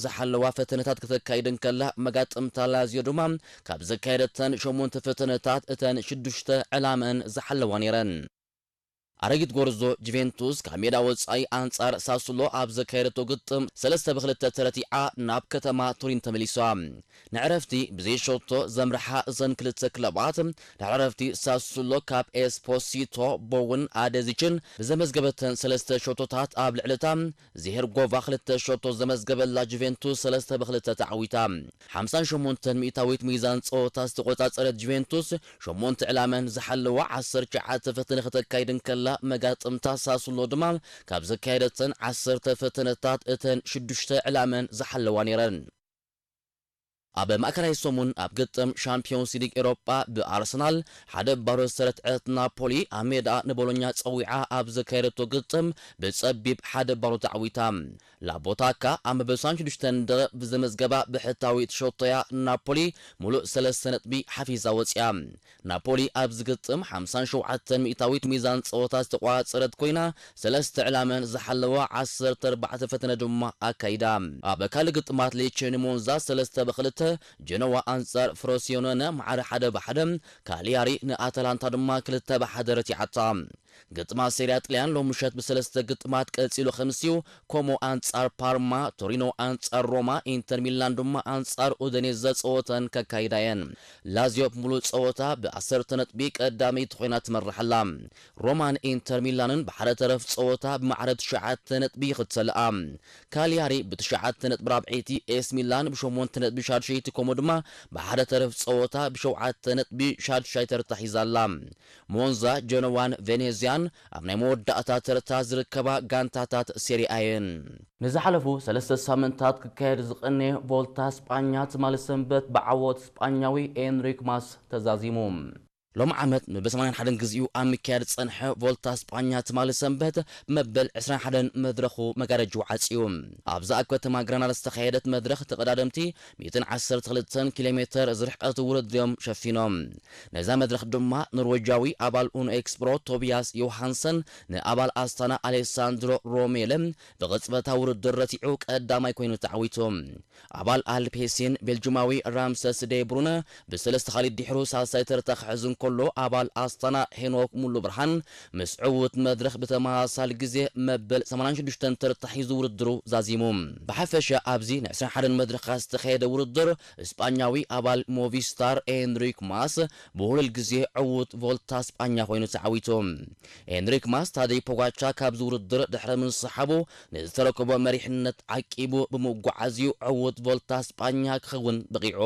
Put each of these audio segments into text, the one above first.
ዝሓለዋ ፈተነታት ክተካይድ እንከላ፣ መጋጥምታ ላዚዮ ድማ ካብ ዘካየደተን ሸሞንተ ፈተነታት እተን ሽዱሽተ ዕላመን ዝሓለዋ ነይረን። ኣረጊት ጎርዞ ጁቬንቱስ ካብ ሜዳ ወጻኢ ኣንጻር ሳሱሎ ኣብ ዘካየደቶ ግጥም ሰለስተ ብክልተ ተረቲዓ ናብ ከተማ ቱሪን ተመሊሳ። ንዕረፍቲ ብዘይ ሸቶ ዘምርሓ እዘን ክልተ ክለባት፣ ድሕሪ ዕረፍቲ ሳሱሎ ካብ ኤስፖሲቶ ቦውን ኣደዚችን ብዘመዝገበተን ሰለስተ ሸቶታት ኣብ ልዕሊ እታ ዜሄርጎቫ ክልተ ሸቶ ዘመዝገበላ ጁቬንቱስ ሰለስተ ብክልተ ተዓዊታ። ሓምሳን ሸሞንተን ሚእታዊት ሚዛን ጸወታ ዝተቆጻጸረት ጁቬንቱስ ሸሞንተ ዕላመን ዝሓለዋ ዓሰርተ ትሽዓተ ፈተነ ክተካይድ እንከላ፣ መጋጥምታ ሳሱሎ ድማ ካብ ዘካየደተን ዓሰርተ ፈተነታት እተን ሽዱሽተ ዕላመን ዝሓለዋ ነይረን። ኣብ ማእከላይ ሰሙን ኣብ ግጥም ሻምፒዮንስ ሊግ ኤሮጳ ብኣርሰናል ሓደ ባዶ ዝተረትዐት ናፖሊ፣ ኣብ ሜዳ ንቦሎኛ ጸዊዓ ኣብ ዘካየደቶ ግጥም ብጸቢብ ሓደ ባዶ ተዓዊታ። ላቦታካ ኣብ መበል ሰብዓን ሽዱሽተን ደቂቕ ብዘመዝገባ ብሕታዊት ሸቶያ ናፖሊ ሙሉእ ሰለስተ ነጥቢ ሓፊዛ ወጺኣ። ናፖሊ ኣብዚ ግጥም ሓምሳን ሸውዓተን ሚእታዊት ሚዛን ጸወታ ዝተቋጸረት ኮይና፣ ሰለስተ ዕላመን ዝሓለዋ ዓሰርተ ኣርባዕተ ፈተነ ድማ ኣካይዳ። ኣብ ካልእ ግጥማት ሌቼ ንሞንዛ ሰለስተ ብክልተ፣ ጀኖዋ ኣንጻር ፍሮሲዮኖነ ማዕረ ሓደ ብሓደ፣ ካሊያሪ ንኣታላንታ ድማ ክልተ ብሓደ ረቲዓታ። ግጥማት ሴሪያ ጥልያን ሎም ምሸት ብሰለስተ ግጥማት ቀጺሉ ከምስዩ፣ ኮሞ ኣንጻር ፓርማ፣ ቶሪኖ ኣንጻር ሮማ፣ ኢንተር ሚላን ድማ ኣንጻር ኡደኔዘ ጸወተን ከካይዳ እየን። ላዚዮ ብምሉእ ጸወታ ብዓሰርተ ነጥቢ ቀዳመይቲ ኮይና ትመርሕ ኣላ። ሮማን ኢንተር ሚላንን ብሓደ ተረፍ ጸወታ ብማዕረ ትሽዓተ ነጥቢ ይኽተልኣ። ካሊያሪ ብትሽዓተ ነጥቢ ራብዐይቲ፣ ኤስ ሚላን ብሸሞንተ ነጥቢ ሻድሸይቲ፣ ኮሞ ድማ ብሓደ ተረፍ ጸወታ ብሸውዓተ ነጥቢ ሻድሻይ ተርታ ሒዛ ኣላ። ሞንዛ፣ ጀኖዋን ቬኔዝያን ኣብ ናይ መወዳእታ ተርታ ዝርከባ ጋንታታት ሴሪኣ እየን። ንዝሓለፉ ሰለስተ ሳምንታት ክካየድ ዝቐነየ ቮልታ ስጳኛ ትማሊ ሰንበት ብዓወት ስጳኛዊ ኤንሪክ ማስ ተዛዚሙ። ሎም ዓመት ንብሰማንያን ሓደን ግዜኡ ኣብ ምክያድ ዝጸንሐ ቮልታ ስጳኛ ትማሊ ሰንበት መበል ዕስራን ሓደን መድረኹ መጋረጅኡ ዓጽዩ። ኣብዛ ኣብ ከተማ ግራናዳ ዝተኻየደት መድረኽ ተቐዳደምቲ ሚእትን ዓሰርተ ክልተን ኪሎ ሜተር ዝርሕቀት ውድድር እዮም ሸፊኖም። ነዛ መድረኽ ድማ ኖርዌጃዊ ኣባል ኡኖ ኤክስፕሮ ቶቢያስ ዮሃንሰን ንኣባል ኣስታና ኣሌሳንድሮ ሮሜለ ብቕጽበታ ውድድር ረቲዑ ቀዳማይ ኮይኑ ተዓዊቱ። ኣባል ኣልፔሲን ቤልጅማዊ ራምሰስ ዴ ብሩነ ብሰለስተ ካሊድ ድሕሩ ሳልሳይ ተርታ ክሕዝ እንከሎ፣ ኣባል ኣስታና ሄኖክ ሙሉ ብርሃን ምስ ዕዉት መድረኽ ብተመሳሳሊ ግዜ መበል ሰማንያን ሽዱሽተን ተርታ ሒዙ ውድድሩ ዛዚሙ። ብሓፈሻ ኣብዚ ንዕስራን ሓደን መድረኻት ዝተኻየደ ውድድር፣ ስጳኛዊ ኣባል ሞቪስታር ኤንሪክ ማስ ብሁሉል ግዜ ዕዉት ቮልታ ስጳኛ ኮይኑ ተዓዊቱ። ኤንሪክ ማስ ታደይ ፖጋቻ ካብዚ ውድድር ድሕሪ ምስሓቡ፣ ንዝተረከቦ መሪሕነት ዓቂቡ ብምጉዓዝዩ ዕዉት ቮልታ ስጳኛ ክኸውን በቒዑ።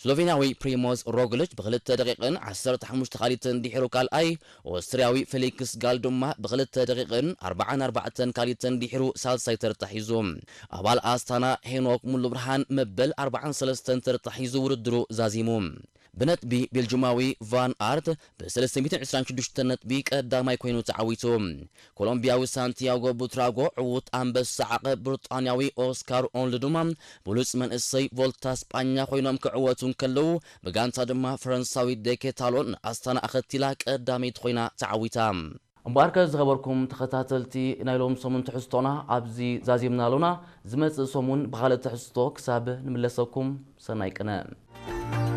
ስሎቬንያዊ ፕሪሞዝ ሮግሊች ብክልተ ደቂቕን ዓሰርተ ሓሙሽተ ካሊትን ድሒሩ ካልኣይ፣ ኦስትርያዊ ፌሊክስ ጋል ድማ ብክልተ ደቂቕን ኣርባዓን ኣርባዕተን ካሊትን ድሒሩ ሳልሳይ ተርታ ሒዙ። ኣባል ኣስታና ሄኖክ ሙሉብርሃን መበል ኣርባዓን ሰለስተን ተርታ ሒዙ ውድድሩ ዛዚሙ። ብነጥቢ ቤልጅማዊ ቫን ኣርት ብሰለስተ ሚእትን ዕስራን ሽዱሽተን ነጥቢ ቀዳማይ ኮይኑ ተዓዊቱ። ኮሎምቢያዊ ሳንቲያጎ ቡትራጎ ዕዉት ኣንበሳ ዓቐብ ብሪጣንያዊ ኦስካር ኦንል ድማ ብሉጽ መንእሰይ ቮልታ ስጳኛ ኮይኖም ክዕወቱ እንከለዉ፣ ብጋንታ ድማ ፈረንሳዊት ዴኬታሎን ኣስታና ኣኸቲላ ቀዳመይቲ ኮይና ተዓዊታ። እምበኣርከ ዝኸበርኩም ተኸታተልቲ ናይ ሎም ሰሙን ትሕዝቶና ኣብዚ ዛዚምና ኣሎና። ዝመጽእ ሰሙን ብኻልእ ትሕዝቶ ክሳብ ንምለሰኩም ሰናይ ቅነ።